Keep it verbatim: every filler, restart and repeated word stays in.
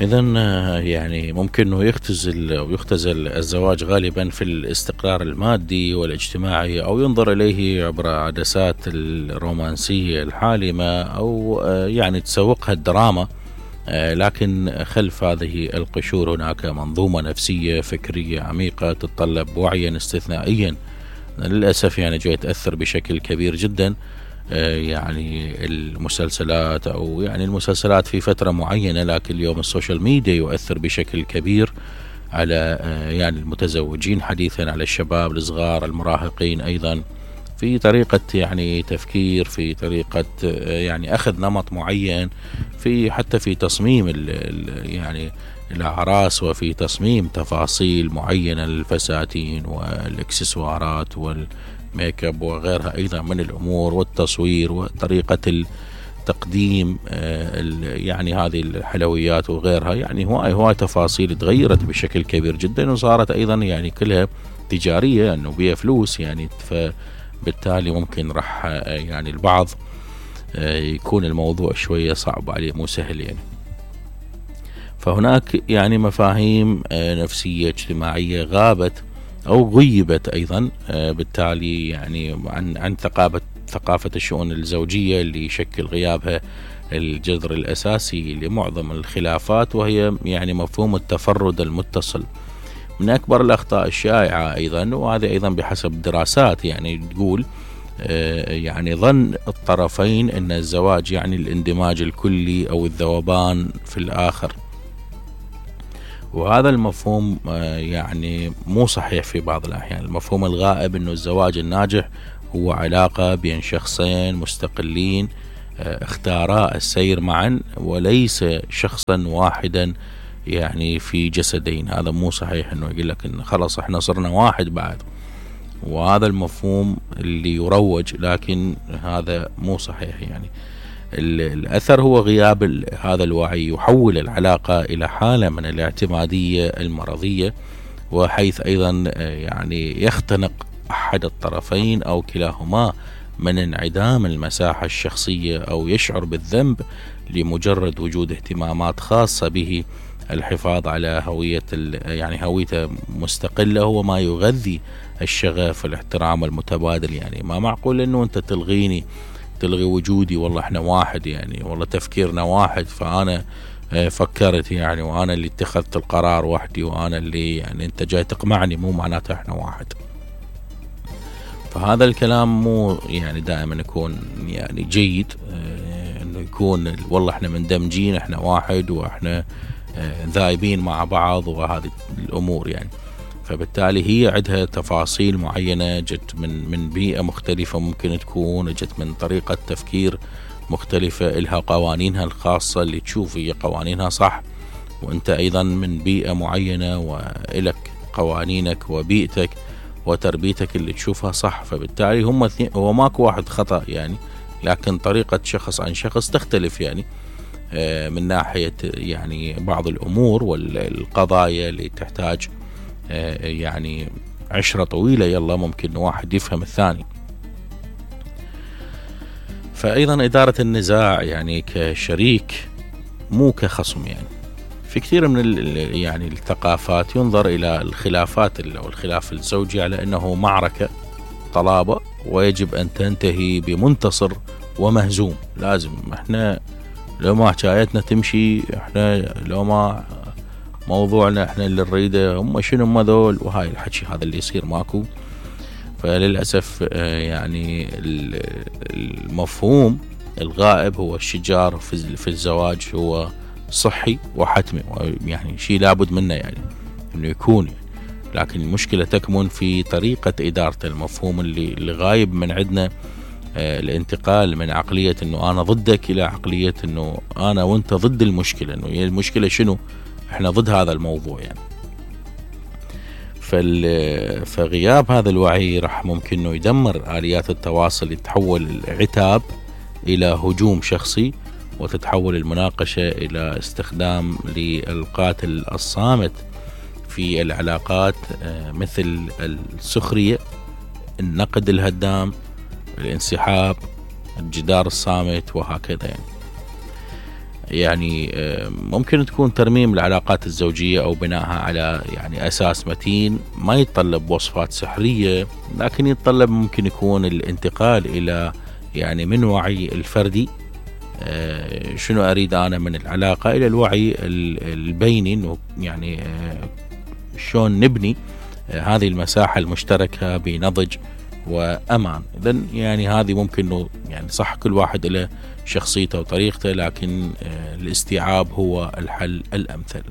إذن يعني ممكن أنه يختزل أو يختزل الزواج غالبا في الاستقرار المادي والاجتماعي، أو ينظر إليه عبر عدسات الرومانسية الحالمة، أو يعني تسوقها الدراما. لكن خلف هذه القشور هناك منظومة نفسية فكرية عميقة تتطلب وعيا استثنائيا للأسف يعني جاي تأثر بشكل كبير جدا. يعني المسلسلات أو يعني المسلسلات في فترة معينة، لكن اليوم السوشيال ميديا يؤثر بشكل كبير على يعني المتزوجين حديثا، على الشباب الصغار المراهقين أيضا، في طريقة يعني تفكير، في طريقة يعني أخذ نمط معين، في حتى في تصميم يعني الأعراس، وفي تصميم تفاصيل معينة للفساتين والإكسسوارات والميك اب وغيرها أيضا من الأمور، والتصوير وطريقة التقديم يعني هذه الحلويات وغيرها. يعني هواي هواي تفاصيل تغيرت بشكل كبير جدا، وصارت أيضا يعني كلها تجارية أنه بيها فلوس يعني. فبالتالي ممكن راح يعني البعض يكون الموضوع شوية صعب عليه، مو سهل يعني. فهناك يعني مفاهيم نفسية اجتماعية غابت أو غيبت أيضا، بالتالي يعني عن عن ثقافة ثقافة الشؤون الزوجية اللي يشكل غيابها الجذر الأساسي لمعظم الخلافات، وهي يعني مفهوم التفرد المتصل. من أكبر الأخطاء الشائعة أيضا، وهذه أيضا بحسب دراسات يعني تقول يعني ظن الطرفين أن الزواج يعني الاندماج الكلي أو الذوبان في الآخر، وهذا المفهوم يعني مو صحيح في بعض الأحيان. المفهوم الغائب أنه الزواج الناجح هو علاقة بين شخصين مستقلين اختارا السير معا، وليس شخصا واحدا يعني في جسدين. هذا مو صحيح، أنه يقول لك إن خلاص احنا صرنا واحد بعد، وهذا المفهوم اللي يروج، لكن هذا مو صحيح. يعني الأثر هو غياب هذا الوعي يحول العلاقة إلى حالة من الاعتمادية المرضية، وحيث أيضا يعني يختنق أحد الطرفين أو كلاهما من انعدام المساحة الشخصية، أو يشعر بالذنب لمجرد وجود اهتمامات خاصة به. الحفاظ على هوية يعني هويته مستقلة هو ما يغذي الشغف والاحترام المتبادل. يعني ما معقول أنه أنت تلغيني، تلغي وجودي، والله احنا واحد يعني، والله تفكيرنا واحد، فأنا فكرت يعني، وأنا اللي اتخذت القرار وحدي، وأنا اللي يعني أنت جاي تقمعني، مو معناته احنا واحد. فهذا الكلام مو يعني دائما يكون يعني جيد، اه انه يكون والله احنا مندمجين، احنا واحد، واحنا اه ذايبين مع بعض، وهذه الامور يعني. فبالتالي هي عندها تفاصيل معينة، جت من من بيئة مختلفة، ممكن تكون جت من طريقة تفكير مختلفة، إلها قوانينها الخاصة اللي تشوف هي قوانينها صح، وانت ايضا من بيئة معينة وإلك قوانينك وبيئتك وتربيتك اللي تشوفها صح. فبالتالي هم اثنين، هو ماكو واحد خطأ يعني، لكن طريقة شخص عن شخص تختلف يعني، من ناحية يعني بعض الأمور والقضايا اللي تحتاج يعني عشرة طويلة، يلا ممكن واحد يفهم الثاني. فأيضا إدارة النزاع يعني كشريك مو كخصم. يعني في كثير من يعني الثقافات ينظر إلى الخلافات أو الخلاف الزوجي على أنه معركة طلابة، ويجب أن تنتهي بمنتصر ومهزوم. لازم احنا لو ما حكايتنا تمشي، احنا لو ما موضوعنا احنا اللي نريده، هم شنو ما ذول، وهاي الحكي هذا اللي يصير ماكو. فللأسف يعني المفهوم الغائب هو الشجار في الزواج هو صحي وحتمي، يعني شيء لابد منه يعني انه يكون يعني. لكن المشكلة تكمن في طريقة إدارة المفهوم اللي, اللي غايب من عندنا. آه الانتقال من عقلية انه انا ضدك الى عقلية انه انا وانت ضد المشكلة، انه المشكلة شنو، احنا ضد هذا الموضوع يعني. فغياب هذا الوعي راح ممكن انه يدمر آليات التواصل، يتحول العتاب الى هجوم شخصي، وتتحول المناقشة الى استخدام للقاتل الصامت في العلاقات، مثل السخرية، النقد الهدام، الانسحاب، الجدار الصامت، وهكذا يعني. يعني ممكن تكون ترميم العلاقات الزوجية أو بنائها على يعني أساس متين ما يتطلب وصفات سحرية، لكن يتطلب ممكن يكون الانتقال إلى يعني من وعي الفردي شنو أريد أنا من العلاقة إلى الوعي البيني، إنه يعني شلون نبني هذه المساحة المشتركة بنضج وأمان. إذن يعني هذه ممكن إنه يعني صح كل واحد له شخصيته وطريقته، لكن الاستيعاب هو الحل الأمثل.